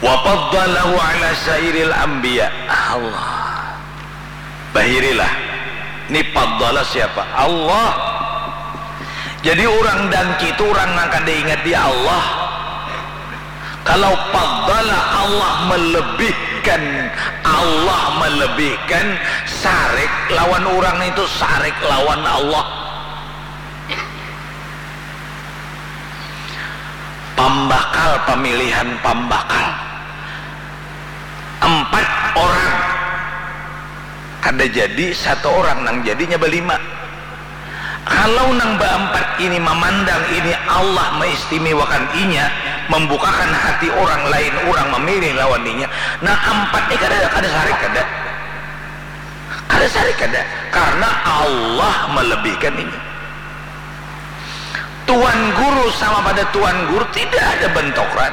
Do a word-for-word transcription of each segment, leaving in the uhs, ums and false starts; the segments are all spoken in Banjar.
Wa faddalahu ala sairil anbiya. Allah. Bahirilah. Ni faddala siapa? Allah. Jadi urang dangki tu urang nang kada ingat di Allah. Kalau faddala, Allah melebihkan, Allah melebihkan, sarik lawan urang itu sarik lawan Allah. Pambakal, pamilihan pambakal. Empat orang. Kada jadi satu orang, nang jadinya balima. Kalau nang baampat ini mamandang ini Allah maistimewakan inya, mambukakan hati orang lain, urang mamilih lawan inya, nang ampat ni kada, kada sarik, kada. Kada sarik, kada. Karena Allah malebihkan inya. Tuan guru sama pada tuan guru, tidak ada bantokran.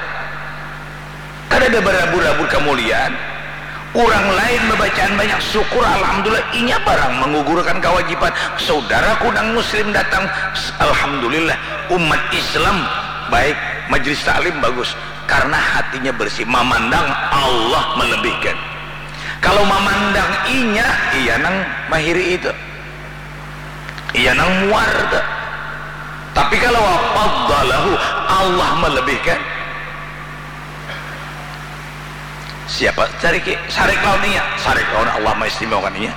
Kadada barabur-rabur kamuliaan. Urang lain babacaan banyak, syukur, alhamdulillah, inya barang mangugurkan kawajiban. Saudaraku nang muslim datang, alhamdulillah, umat Islam baik, majlis taklim bagus, karna hatinya bersih, mamandang Allah malebihkan. Kalau mamandang inya, iya nang mahiri itu. Iya nang muar tu. Tapi kalau wa faddalahu, Allah malebihkan. Siapa? Cari ki, sarik lawan inya, sarik lawan Allah maistimewakan inya.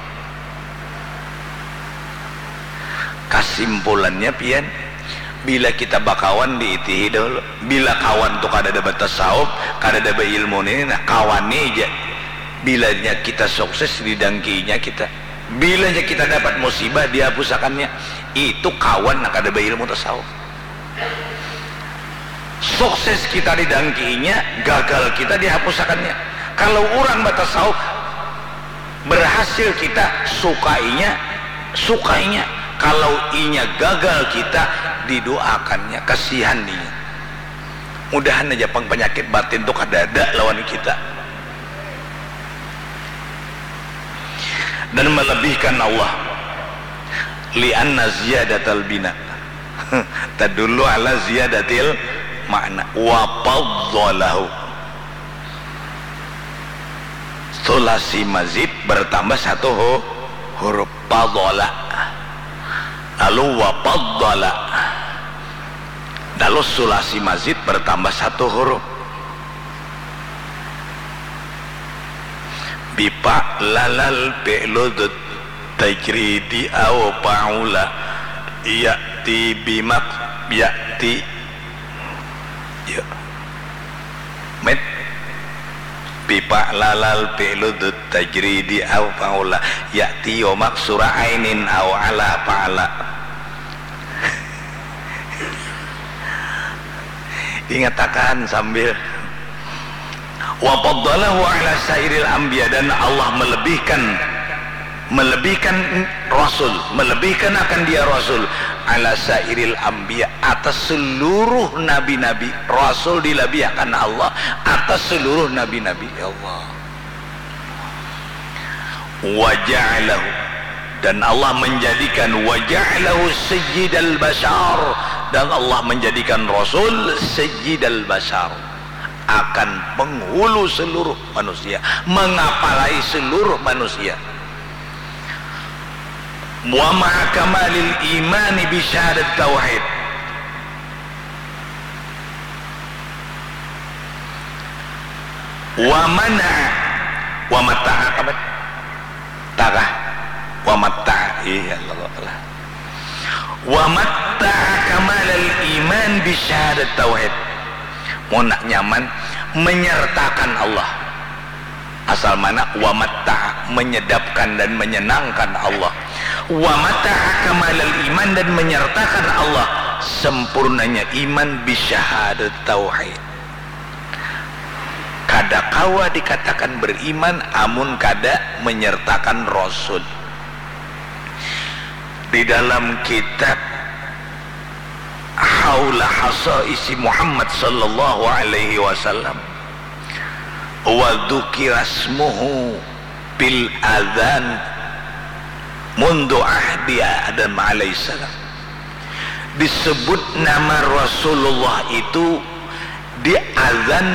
Kasimpulannya pian, bila kita bakawan diitihi dahulu. Bila kawan tu kadada batasawuf, kadada bailmu ni, nah kawan ni ja. Bilanya kita sukses didangkiinya kita. Bilanya kita dapat musibah, dihapusakannya. Itu kawan nang kada bailmu tasawuf. Sukses kita didangkiinya, gagal kita dihapusakannya. Kalau urang batasawuf, berhasil kita, sukainya, sukainya. Kalau inya gagal kita, didoakannya, kasihan inya. Mudahan aja pang panyakit batin tu kadada lawan kita. Dan melebihkan Allah. Lianna ziyadatal bina tadullu ala ziyadatil makna. Wa faddalahu. Sulasi mazid bertambah satu hu-, huruf. Fadala. Lalu wa faddala. Lalu sulasi mazid bertambah satu huruf. Bifa'lalal fi'lu dzut tajridi au fa'ula ya'ti bimak-, ya'ti. Ya. Mit. Bifa'lalal fi'lu dzut tajridi au fa'ula ya'ti wa maksura ainin au ala fa'ala. Ingatakan sambil. Wa faddalahu ala sairil anbiya, dan Allah melebihkan, melebihkan Rasul, melebihkan akan dia Rasul, ala sairil anbiya, atas seluruh nabi-nabi. Rasul dilebihakan Allah atas seluruh nabi-nabi. Ya Allah. Wa ja'alahu, dan Allah menjadikan, wa ja'alahu sayyidal bashar, dan Allah menjadikan Rasul sayyidal bashar, akan penghulu seluruh manusia, mengapalai seluruh manusia. Wa ma'a kamalil imani bi syahadat tauhid. Wa mana, wa mata'a kamat. Takah. Wa mata'a. Iya, Allah, Allah. Wa mata'a kamalal iman bi syahadat tauhid. Mun nak nyaman, menyertakan Allah. Asal mana? Wa mata'a, menyedapkan dan menyenangkan Allah. Wa mata'a kamalal iman, dan menyertakan Allah sempurnanya iman bi syahadat tauhid. Kada kawa dikatakan beriman amun kada menyertakan Rasul. Di dalam kitab Haula Hasaisi Muhammad sallallahu alaihi wasallam, wa dzukira ismuhu fil adzan mundu ahdi Adam alaihissalam. Disebut nama Rasulullah itu di azan